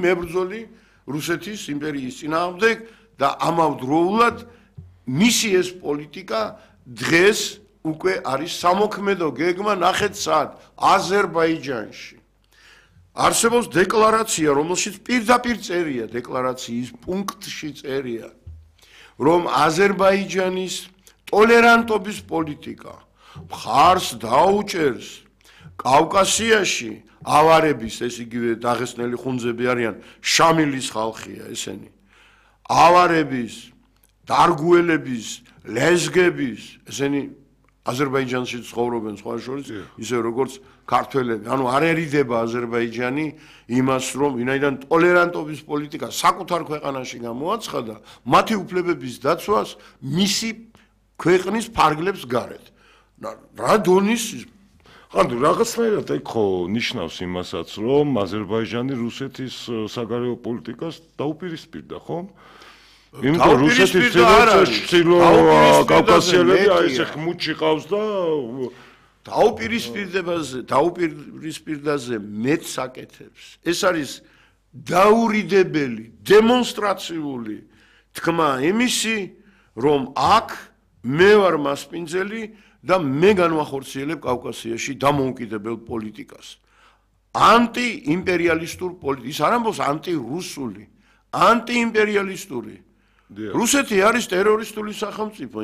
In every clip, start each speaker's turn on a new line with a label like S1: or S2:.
S1: მებრძოლი რუსეთის იმპერიის წინააღმდეგ და ამავდროულად მისი ეს პოლიტიკა დღეს უკვე არის სამოქმედო გეგმა ნახეთ სად აზერბაიჯანში. არსებობს დეკლარაცია, რომელშიც პირდაპირ წერია, დეკლარაციის პუნქტში წერია, რომ აზერბაიჯანის ტოლერანტობის პოლიტიკა მხარს დაუჭერს კავკასიაში ავარების, ეს იგივე დაღესტნელი ხუნძები არიან, შამილის ხალხია ესენი. ავარების, დარგუელების, ლეზგების, ესენი აზერბაიჯანში ცხოვრობენ სხვა შორის, ისე როგორც ქართველები. ანუ არერიდება აზერბაიჯანი იმას, რომ ვინაიდან ტოლერანტობის პოლიტიკა საკუთარ ქვეყანაში გამოაცხადა, მათი უფლებების დაცვას მისი ქვეყნის ფარგლებს გარეთ. რა დონის
S2: ანუ რაღაცნაირად ეგ ხო ნიშნავს იმასაც, რომ აზერბაიჯანი რუსეთის საგარეო პოლიტიკას დაუპირისპირდა, ხო? იმიტომ რუსეთის ცილო კავკასიელები აი ეს ხმუთში ყავს და
S1: დაუპირისპირდაზე მეც საკეთებს. ეს არის დაურიდებელი, დემონსტრაციული თქმა იმისი, რომ აქ მე ვარ მასპინძელი და მე განვახორციელებ კავკასიაში დამოუკიდებელ პოლიტიკას. ანტიიმპერიალისტურ პოლიტიკას, ის არ ამბობს ანტირუსული, ანტიიმპერიალისტური. რუსეთი არის ტერორისტული სახელმწიფო,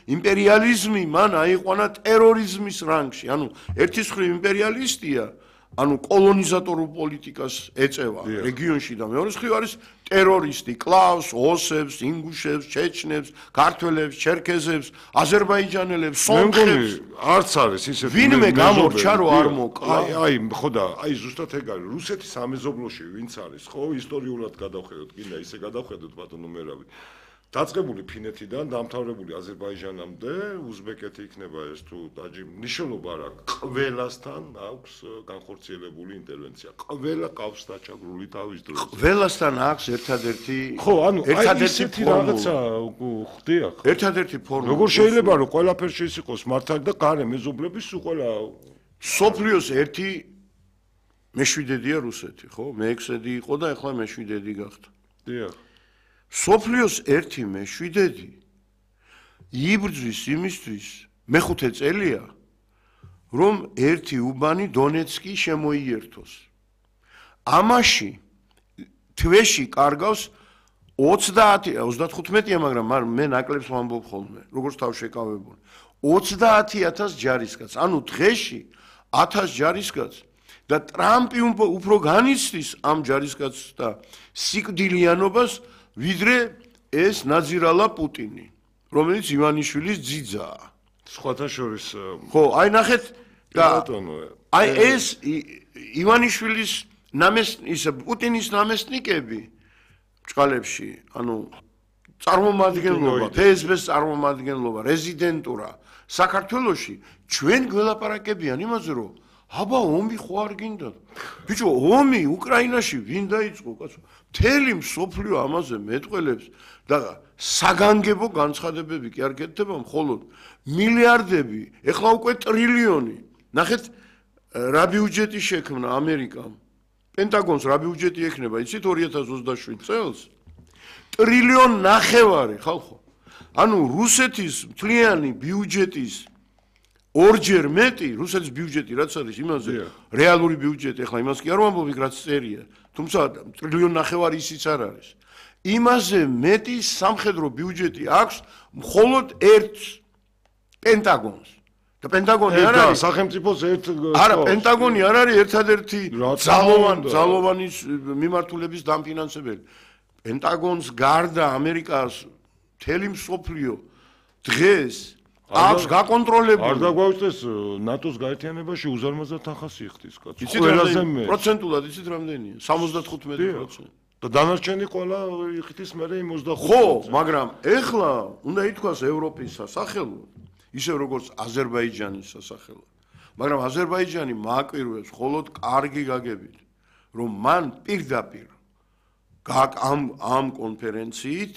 S1: იმპერიალიზმი მან აიყვანა ტერორიზმის რანგში. ანუ ერთის მხრივ იმპერიალისტია, ანუ კოლონიზატორულ პოლიტიკას ეწევა რეგიონში და მეორეს მხრივ არის ტერორისტი, კლავს ოსებს, ინგუშებს, ჩეჩნებს, ქართველებს, ჩერქეზებს, აზერბაიჯანელებს, სომხებს.
S2: არც არის ისეთი
S1: ვინმე გამორჩა რომ არ მოკლა.
S2: აი, ხო და აი ზუსტად ეგ არის. რუსეთის სამეზობლოში ვინც არის, ხო, ისტორიულად გადავხედოთ, კიდე ისე გადავხედოთ ბატონო მერავი. დაწყებული ფინეთიდან დამთავრებული აზერბაიჯანამდე, უზბეკეთი იქნება ეს თუ მნიშვნელობა რა, ყველასთან აქვს განხორციელებული ინტერვენცია. ყველა ყავს დაჩაგრული თავის დროს.
S1: ყველასთან აქვს ერთადერთი
S2: ხო, ანუ აი ისეთი რაღაცა ხდია.
S1: ერთადერთი ფორმა.
S2: როგორ შეიძლება რომ ყველაფერში ის იყოს მართალი და გარე მეზობლების სულ ყველა
S1: სოფლიოს ერთი მეშვიდედია რუსეთი, ხო? მე-6 იყო და ახლა მე-7 გახდა.
S2: დიახ.
S1: სოფლიოს ერთი მე-7 იბრძვის იმისთვის მე-5 წელია, რომ ერთი უბანი დონეცკი შემოიერთოს. ამაში თვეში კარგავს 35-ია, მაგრამ მე ნაკლებს ვამბობ ხოლმე, როგორც თავშეკავებული. 30,000 ჯარისკაცს, ანუ დღეში 1000 ჯარისკაცს და ტრამპი უფრო განიცდის ამ ჯარისკაცს და სიკვდილიანობას ვიდრე ეს ნაძირალა პუტინი, რომელიც ივანიშვილის ძიძაა.
S2: სხვათა შორის
S1: ხო, აი ნახეთ და აი ეს ივანიშვილის პუტინის ნამესნიკები ბჭყალებში, ანუ წარმომადგენლობა, ფსბ-ს წარმომადგენლობა, რეზიდენტურა საქართველოში ჩვენ გველაპარაკებიან იმაზე, რომ აბა ომი ხო არ გინდა? ბიჭო, ომი უკრაინაში ვინ დაიწყო, კაცო? მთელი მსოფლიო ამაზე მეტყველებს და საგანგებო განცხადებები კი არ გეთდება, მხოლოდ მილიარდები, ეხლა უკვე ტრილიონი. ნახეთ, რა ბიუჯეტი შექმნა ამერიკამ. პენტაგონს რა ბიუჯეტი ექნება, იცით 2027 წელს? 1,5 ტრილიონი, ხალხო. ანუ რუსეთის მთლიანი ბიუჯეტის ორჯერ მეტი, რუსეთის ბიუჯეტი რაც არის იმაზე, რეალური ბიუჯეტი, ახლა იმას კი არ ვამბობ, რაც წერია, თუმცა 1,5 ტრილიონი ისიც არ არის. იმაზე მეტი სამხედრო ბიუჯეტი აქვს მხოლოდ ერთ პენტაგონს. და პენტაგონი არ არის
S2: სახელმწიფოს ერთ
S1: არა, პენტაგონი არ არის ერთადერთი ძალოვანი მიმართულების დამფინანსებელი. პენტაგონს გარდა ამერიკას მთელი მსოფლიო დღეს აქვს გაკონტროლებული.
S2: არ დაგვაუწეს ნატოს გაერთიანებაში უზარმაზარ თანხას იხდის, კაცო.
S1: ყველაზე მე პროცენტულად იცით რამდენია? 75%.
S2: და დანარჩენი ყველა იხდის მერე 25%.
S1: ხო, მაგრამ ეხლა უნდა ითქვას ევროპის სასახელოდ, ისე როგორც აზერბაიჯანის სასახელოდ. მაგრამ აზერბაიჯანი მააკვირვებს მხოლოდ კარგი გაგებით, რომ მან პირდაპირ ამ კონფერენციით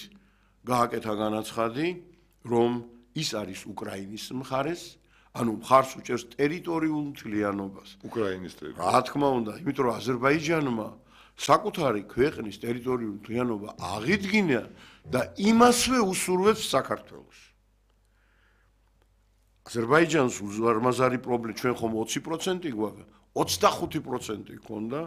S1: გააკეთა განაცხადი, რომ ის არის უკრაინის მხარეს, ანუ მხარს უჭერს ტერიტორიულ მთლიანობას.
S2: უკრაინის ტერიტორია.
S1: რა თქმა უნდა, იმიტომ რომ აზერბაიჯანმა საკუთარი ქვეყნის ტერიტორიული მთლიანობა აღიდგინა და იმასვე usურვებს საქართველოს. აზერბაიჯანს უზარმაზარი პრობლემა ჩვენ ხომ 20% გვაქვს, 25% ქონდა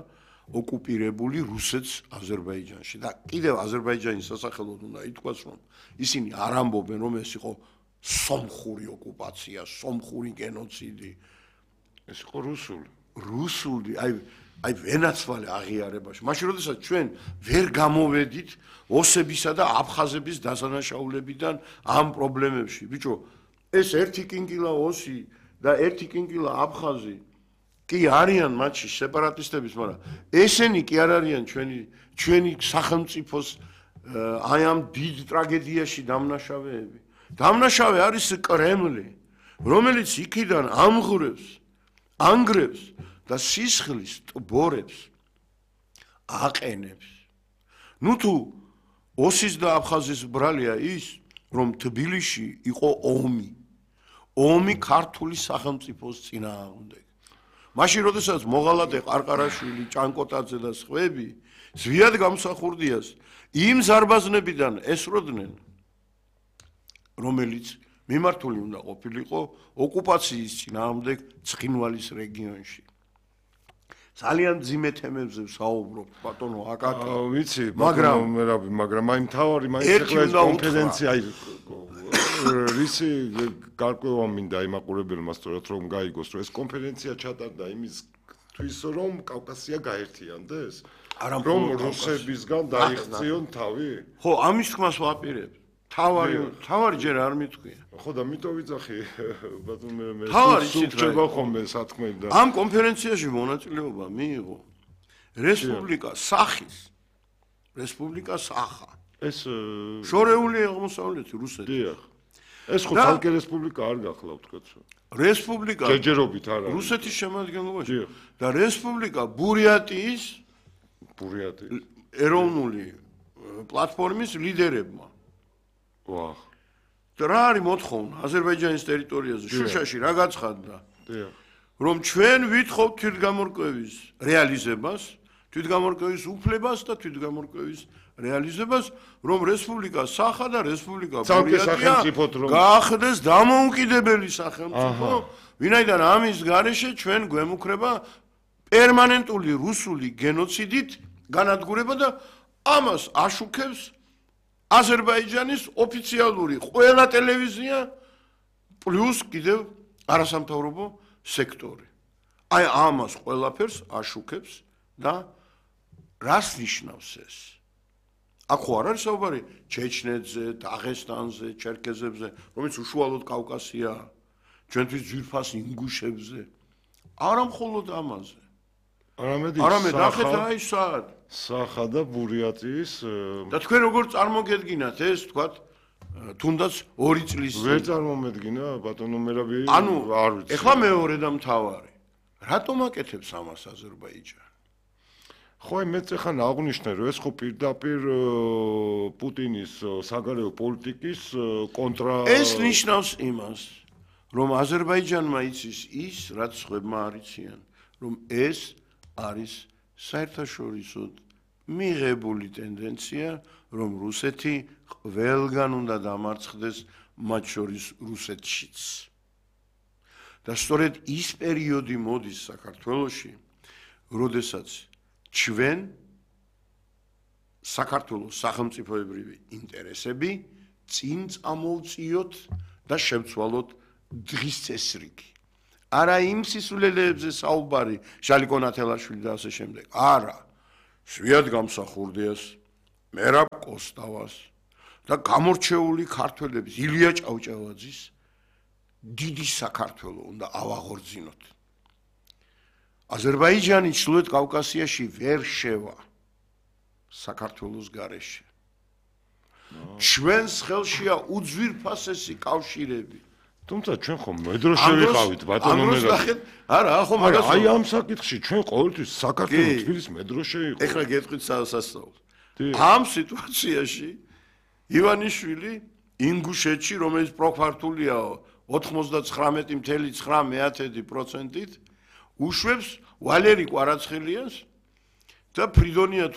S1: ოკუპირებული რუსეთს აზერბაიჯანში და კიდევ აზერბაიჯანის სასახელოდ უნდა ითქვას, რომ ისინი არ ამბობენ, რომ ეს იყო სომხური ოკუპაცია, სომხური გენოციდი.
S2: ეს იყო
S1: რუსული, აი ვენაცვალე აღიარებაში. მაშინ როდესაც ჩვენ ვერ გამოვედით ოსებისა და აფხაზების დასანაშაულებიდან ამ პრობლემებში. ბიჭო, ეს ერთი კინკილა ოსი და ერთი კინკილა აფხაზი კი არიან მათში სეპარატისტების, მაგრამ ესენი კი არ არიან ჩვენი სახელმწიფოს აი ამ დიდ ტრაგედიაში დამნაშავეები. დამნაშავე არის კრემლი, რომელიც იქიდან ანგრევს და სისხლის ტბორებს აყენებს. ნუ თუ ოსის და აფხაზის ბრალია ის, რომ თბილისში იყო ომი ქართული სახელმწიფოს წინააღმდეგ. მაშინ როდესაც მოღალატე ყარყარაშვილი, ჭანკოტაძე და სხვები ზვიად გამსახურდიას იმ ზარბაზნებიდან ესროდნენ, რომელიც მიმართული უნდა ყოფილიყო ოკუპაციის წინააღმდეგ ცხინვალის რეგიონში. ძალიან ძიმე თემებზე ვსაუბრობ, ბატონო აკაკი.
S2: ვიცი, მაგრამ აი მთავარი მაინც ეს კონფერენცია რისი გარკვევა მინდა იმაყურებელმა სწორად რომ გაიგოს, რომ ეს კონფერენცია ჩატარდა იმისთვის, რომ კავკასია გაერთიანდეს? რომ რუსებისგან დაიხციონ თავი?
S1: ხო, ამის თქმას ვაპირებ. თავარი ჯერ არ მithქვია.
S2: ხო და მითო ვიძახი, ბატონო მე
S1: სულჩება
S2: ხომე სათქმელი და
S1: ამ კონფერენციაში მონაწილეობა მიიღო რესპუბლიკა სახა.
S2: ეს
S1: შორეული აღმოსავლეთი რუსეთი.
S2: დიახ. ეს ხო თალკე რესპუბლიკა არ გახლავთ კაცო.
S1: რესპუბლიკა
S2: ჯერჯერობით არ არის.
S1: რუსეთის შემადგენლობაში და რესპუბლიკა ბურიატიის ეროვნული პლატფორმის ლიდერებმა.
S2: ვაჰ.
S1: და რა არის მოთხოვნა აზერბაიჯანის ტერიტორიაზე, შუშაში რა გაცხადდა?
S2: დიახ.
S1: რომ ჩვენ ვითხოვთ თვითგამორკვევის რეალიზებას, თვითგამორკვევის უფლებას და თვითგამორკვევის რეალიზებას, რომ რესპუბლიკა სახა და რესპუბლიკა ბურიატია გაახდეს დამოუკიდებელი სახელმწიფო, ვინაიდან ამის გარეშე ჩვენ გვემუქრება პერმანენტული რუსული გენოციდით განადგურება და ამას აშუქებს აზერბაიჯანის ოფიციალური ყველა ტელევიზია პლუს კიდევ არასამთავრობო სექტორი. აი ამას ყველაფერს აშუქებს და რას ნიშნავს ეს? აქ ხო არ არის საუბარი ჩეჩნეთზე, დაღესტანზე, ჩერქეზებზე, რომელიც უშუალოდ კავკასიაა, ჩვენთვის ძვირფას ინგუშებზე. არა მხოლოდ ამაზე. არამედ ახეთ აი სად
S2: სახა და ბურიატიის
S1: და თქვენ როგორ წარმოგედგინათ ეს თქვათ თუნდაც 2 წლის
S2: ვერ წარმომედგინა ბატონო მერაბი არ ვიცი.
S1: ეხლა მეორე და მთავარი. რატომ აკეთებს ამას აზერბაიჯანი?
S2: ხო, მეც ახლა აღნიშნე, რომ ეს ხო პირდაპირ პუტინის საგარეო პოლიტიკის კონტრა
S1: ეს ნიშნავს იმას, რომ აზერბაიჯანმა იცის ის, რაც სხვებმა არ იციან, რომ ეს არის საერთაშორისო მიღებული ტენდენცია, რომ რუსეთი ყველგან უნდა დამარცხდეს, მათ შორის რუსეთშიც. და სწორედ ის პერიოდი მოდის საქართველოში, როდესაც ჩვენ საქართველოს სახელმწიფოებრივი ინტერესები წინ წამოვწიოთ და შევცვალოთ დღის წესრიგი. არა იმ სისულელეებზე საუბარი შალიკო ნათელაშვილი და ასე შემდეგ. არა. შვიად გამსახურდიას, მერაბ კოსტავას და გამორჩეული ქართველების ილია ჭავჭავაძის დიდი საქართველო უნდა ავაღორძინოთ. აზერბაიჯანი ჩრდილოეთ კავკასიაში ვერ შევა საქართველოს გარეშე. ჩვენს ხელშია უძვირფასესი კავშირები.
S2: თუმცა ჩვენ ხომ მედროშე ვიყავით ბატონო მერაბი.
S1: არა, ხო მაგას
S2: აი ამ საკითხში ჩვენ ყოველთვის საქართველოს თბილის მედროშე იყო.
S1: ეხლა გეტყვით სასწაულს. ამ სიტუაციაში ივანიშვილი ინგუშეთში, რომელიც პროფართულია 99.9%-ით უშვებს ვალერი კვარაცხელიას და ფრიდონია